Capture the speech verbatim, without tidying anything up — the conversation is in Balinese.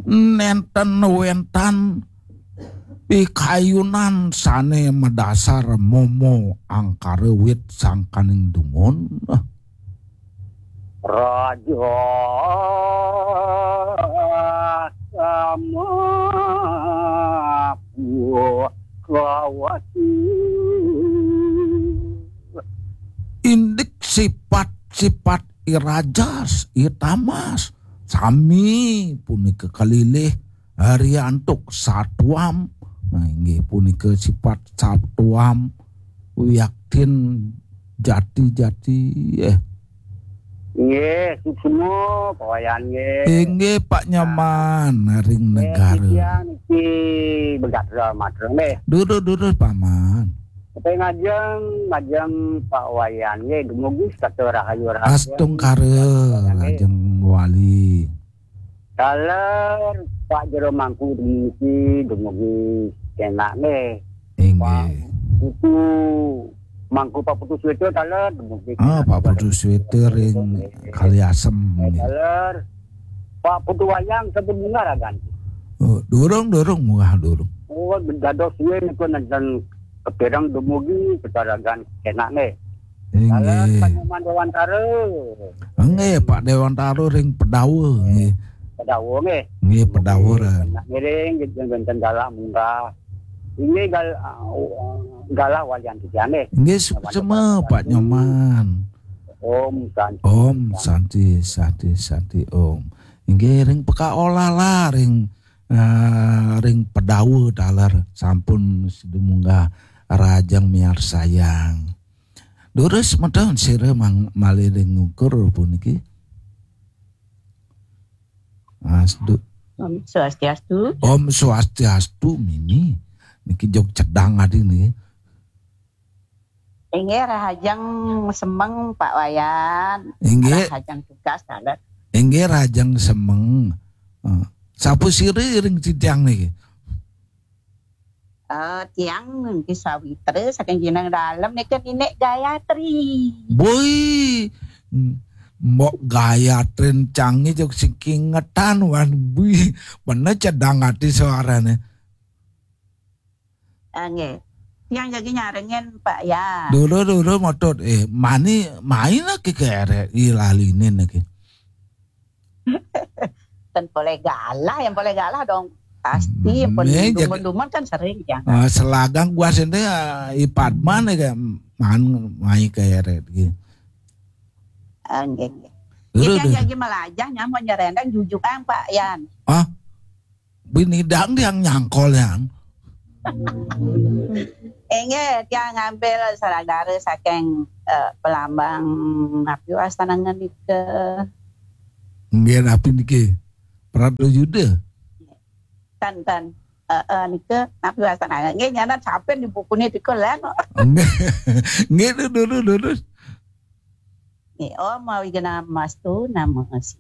Nénten wénten pikayunan sané madasar momo angkara wit sangkaning dumun. Raja sama kawati. Indik sipat-sipat I Rajas, I Tamas, sami punika kalilih hari antuk satuam. Nah, inggih punika sipat satuam wiaktin jati-jati. Eh. Nggih, suksma, Pak Wayan nggih. Inggih, Pak Nyoman, ring Nggih, negara. Titiang niki begatra matra nggih. Durus, durus, Paman. Tapi ngajeng, ngajeng Pak Wayan nggih, dumugi setata rahayu rahayu. Astungkara, Pak Wayan nggih. Ngajeng wali. Taler Pak Jero Mangku niki dumugi kenak nggih. Inggih. Pak Putu Mangku Pak Putu Sweta taler dumugi Ah, kenak. Pak Putu Sweta ring Nggih. Kaliasem nggih. Taler Pak Putu Wayang sampun munggah ragan. Oh, durung, durung, munggah durung. Oh, dados suwe niku nenten kepireng dumugi kecaragan kenak nggih. Inggih. Taler Pak Nyoman Dewantara. Nggih, Pak Dewantara ring Pedawa nggih. Pedawa nggih. Nggih, Pedawa. Kenak ngiring nggih wenten galah munggah. Inggih gal-, galah walian titiang nggih. Nggih, suksma, Pak Nyoman. Om Santi. Om Santi, Santi, Santi, Om. Inggih ring pekaolah lah ring, eh, ring Pedawa taler sampun sida munggah rajang miarsayang. Durus meten sira mang-, malih ring ngukur puniki. Asdu. Om Swastiastu. Om Swastiastu, Mimi. Niki jog cedang adi niki. Inggih, rahajeng semeng, Pak Wayan. Inggih. Rahajeng tugas, taler. Inggih, rahajeng semeng. Eh, sapa sira ring titiang niki? Eh, tiang niki sawitra saking Jeneng Dalem niki Ninik Gayatri. Boi, Mbok Gayatri cangé jog sing kingetan wan bui. Bener cedang ati suarane. Ah, nggih. Tiang jagi nyarengin, Pak, ya. Dulu, dulu, motut. Eh, mani, main lagi ke R R I lalinin lagi. Ten boleh galah, yang boleh galah dong. Pasti, Hmm, pun eh, jaga- dumun-dumun kan sering, ya. Ah, selagang gua sini, ah, I Padman ya, kayak man, main ke R R I. Ah, nggih, nggih. Dulu, Tiang dulu. Jagi melajah, nyamuk nyerendang, jujukan, Pak Yan. Ah? Binidang tiang nyangkol yang. Inggih, tiang ngambil saudara saking, eh, Pelambang napi wastanangan nika. Nggih, napi niki? Prado Yuda. Tan, tan. Eh, eh, nika napi wastanangan. Nggih, nyanan sampeyan di bukune nika lan. Nggih. Nggih, durus, durus. Nggih, Om Awighnamastu, nama si.